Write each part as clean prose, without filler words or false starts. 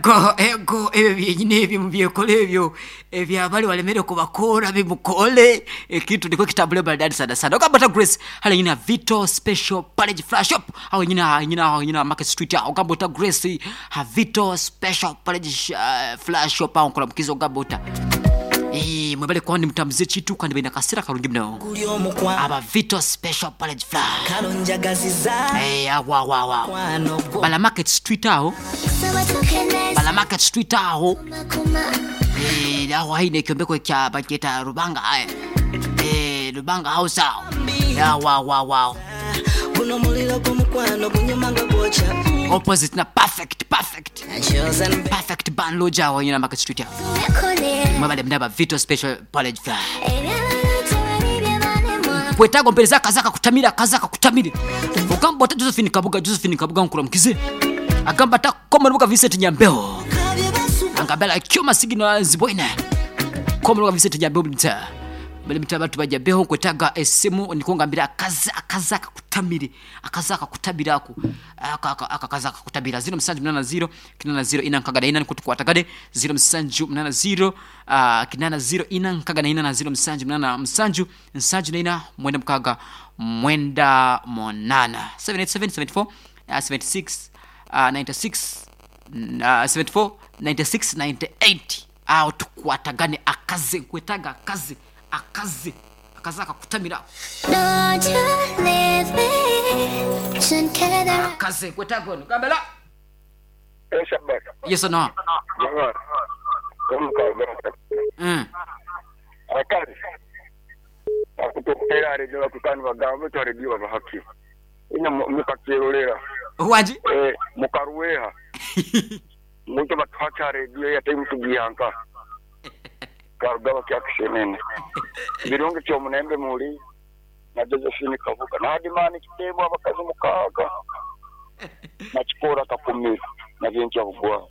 Ego, ego, ebyo byenyini ebyo mubyekole ebyo ebyabali walemere kubakora bimukole ekintu nikwo kitambule maridadi sana sana. Ogamba ota Grace hali nyina Vito Special Pledge Flash Shop aho nyina nyina aho nyina Market Street aho. Ogamba ota Grace ha Vito Special Pledge Flash Shop aho nkola mukizo ogamba ota. Eh, mwebale kuba nimutambuza ekintu kandi baine akasera karungi muno. Guli omukwano. Aba Vito Special Pledge Flash. Kalo njagaziza. Eh, awo awo awo awo. Mukwano gwo. Bala Market Street aho. Bala Market Street aho. Eh, aho haine ekyombeko kya bakyeta Rubanga. Eh, Rubanga House aho. Awo awo awo awo. Guno muliro gw'omukwano gunyuma nga gwokya. Opposite na perfect, perfect. Chosen Perfect band lodge aho nyina Market Street aho. Mwebale mnaba Vito Special Pledge Flash. Kwetago mpereza akazaka kutamira akazaka kutamire. Ogamba ota Josephine Kabuga, Josephine Kabuga nkura mukize. Agamba ata Komoruka Vincent Nyambeho. Angabela kyoma sigino zibwena. Komoruka Vincent Nyambeho mta. Bali mta abantu bajja kwetaga esimu nikongambira akaza akazaka kutamire akazaka kutabira ako aka aka akazaka kutabira 0780 80 ina nkagada ina nikutukwatagade 0780 80 ina nkagada ina na 0780 msanju nsanju na ina mwenda mkaga mwenda monana 787 74 76 96 74 96 98 aho tukwatagane akaze nkwetaga akaze akaze akazaka kutamira akaze nkwetaga ono gambela Eh, Shabbat. yes or no Jamaa. Omukaga. Akazi. Akutokera redio bakukani bagamba to redio babahaki. Ina mukakerolera. waji Eh, mukaruweha. Muntu batuhaka redio ya time tugiyanka. Karuga bakyakushenene. Birungi kyo munembe muli na Josephine Kabuga. Na Hadimani kitebo abakazi mukaga. Na chikora kakumira. Na bintu bugwa.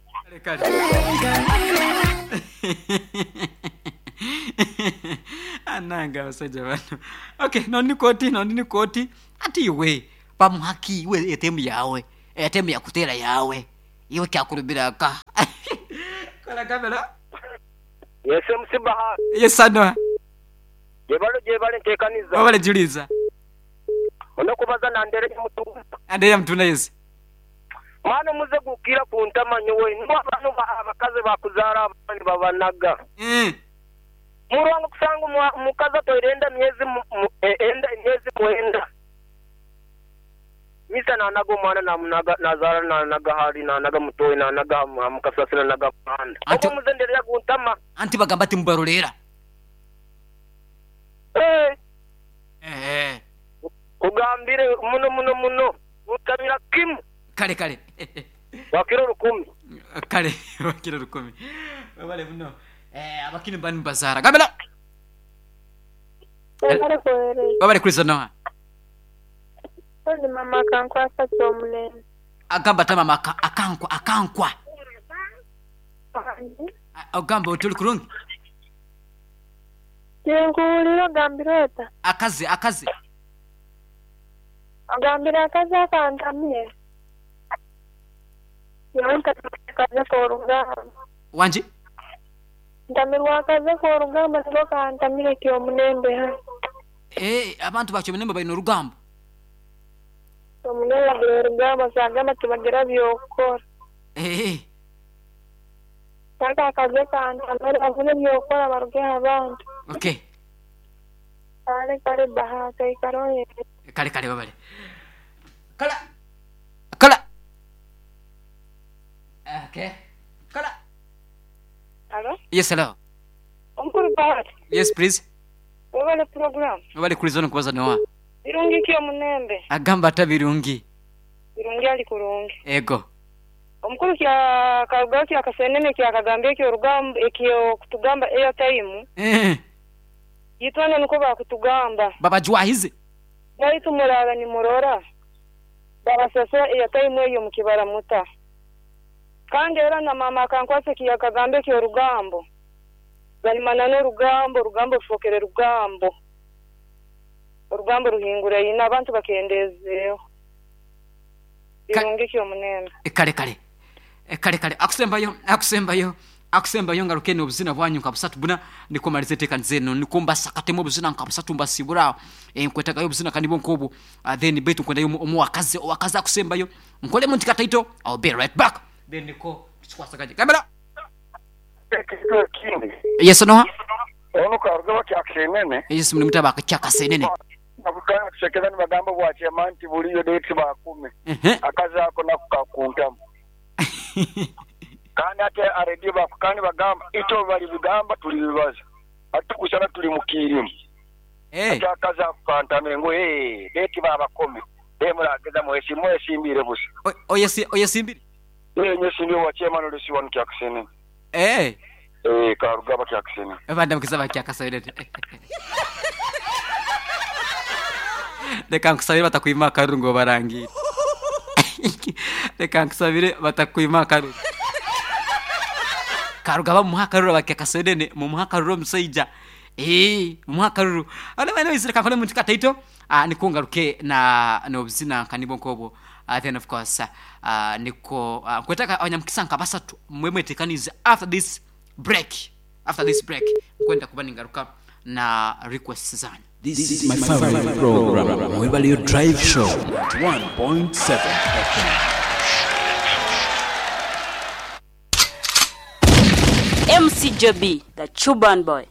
Ananga abasajja bano. Okay, nondi koti, nondi koti. Ati iwe bamuhaki iwe etemu yawe. Etemu yakutera yawe. Iwe kyakulubiraka. Kola kamera. Yese musibaha Yes ano. jebalo jebale ntekaniza Wabale juliza. onokubaza nandere mutu Andrea mtuna yes. mwana muze gukira ku ntama nyowe nibo abantu abakazi bakuzara abandi babanaga Murwango kusanga omukazi atwaire enda myezi enda emyezi mwenda misa nanaga omwana namunaga nazara nanaga hari nanaga mutoyi nanaga mukasasi nanaga muhanda Anti- ogo muze nderera guntama Anti bagamba ati mubarolera. Eh, Eh. kugambire muno muno muno gutamira kimu Kale kale. wakiro 10 Kale wakiro 10. Wabale muno. Eh, abakini bani bazara. Gambela. Wabale Kristo noha. Ndi mama akankwasa ky'omulembe. Agamba ata mama akankwa akankwa. Ogamba otuli kurungi. Kyenkuwulira ogambira ota? Akaze akaze. Ogambira akazi akantamye. Nyowe ntamirwa akaze k'orugamba. Wanji? Ntamirwa akaze k'orugamba niko kantamire ky'omulembe ha. Eh, abantu bakyo munembe balina orugambo. Omunembe bagira orugamba sagamba tibagira by'okukora. Eh, Kaka akaze kantamire bavune by'okukora barugeho abantu. okay. Kale kale Bahati aikara oyende. Kale kale babale. Kala. Kala. Okay. Kala. Alo? Yes, hello. Omukuru Bahati, Yes, please. webale program. Wabale Kristo nkubaza noha. Birungi ky'omunembe. Agamba ata birungi. Birungi ali kurungi. Ego. Omukuru kya karugaho kya kasenene kya kagambye ekyorugambo ekyo kutugamba airtime Eh, yitwana niko bakutugamba babajwahize. baitu murara nimurora babasasura airtime eyo mukibara muta kandi era na mama akankwasa kya kagambe ekyorugambo balimana n'orugambo orugambo rufokere rugambo orugambo ruhingura ina abantu bakendezeeho birungi kyomunembe Kale kale. Kale kale, akusembayo, akusembayo, akusembayo, ngaruke n'obuzina bwanyu nka busatu buna, niko malize enteekaniza eno, niko mbasakatemu obuzina nka busatu mbasibura. Nkwetagayo obuzina kandi nkobu, then baitu nkwendayo omuwakazi, owakazi akusembayo, nkolemu nti kataito. I'll be right back, then niko tukikwasaganye kamera. Ekintu ekindi. Yes, noha? Ono Karugaba Kyakasenene. Yes, muli mutaba Kyakasenene. Bakutandika kusekeza nibagamba bwakyema nti buliyo date bakumi. Akazi ako nako kakuntamu. Kandi ate aredio bakukana nibagamba itwe balibigamba tulibibaza. Ati tukusana tuli mu kiirimu. Ati akazi ako kantamire ngu ee date babakome. Ee murageza mwesimbire busa. Oyesimbire? Ee nyesimbire bwakyema nolesi wanu Kyakasenene. Ee Karugaba Kyakasenene. Bandamukiza bakyakasenene. Reka nkusabire batakwima akaruru ngo barangire. Reka nkusabire batakwima akaruru. Karugaba mumuha akaruru, abakyakasenene mumuha akaruru omusaija. Mumuha akaruru. Ana bana reka nkole muntu kataito. Niko ngaruke na n'obuzina kanibo nkobo. Then of course niko nkwetaka abanyamukisa nka basatu mwe mwetekanize after this break. After this break nkwenda kuba ningaruka na requests zanyu. This is my favorite program, Mwebalio Drive Show, 1.7 FM. MC Joby, the Chuban boy.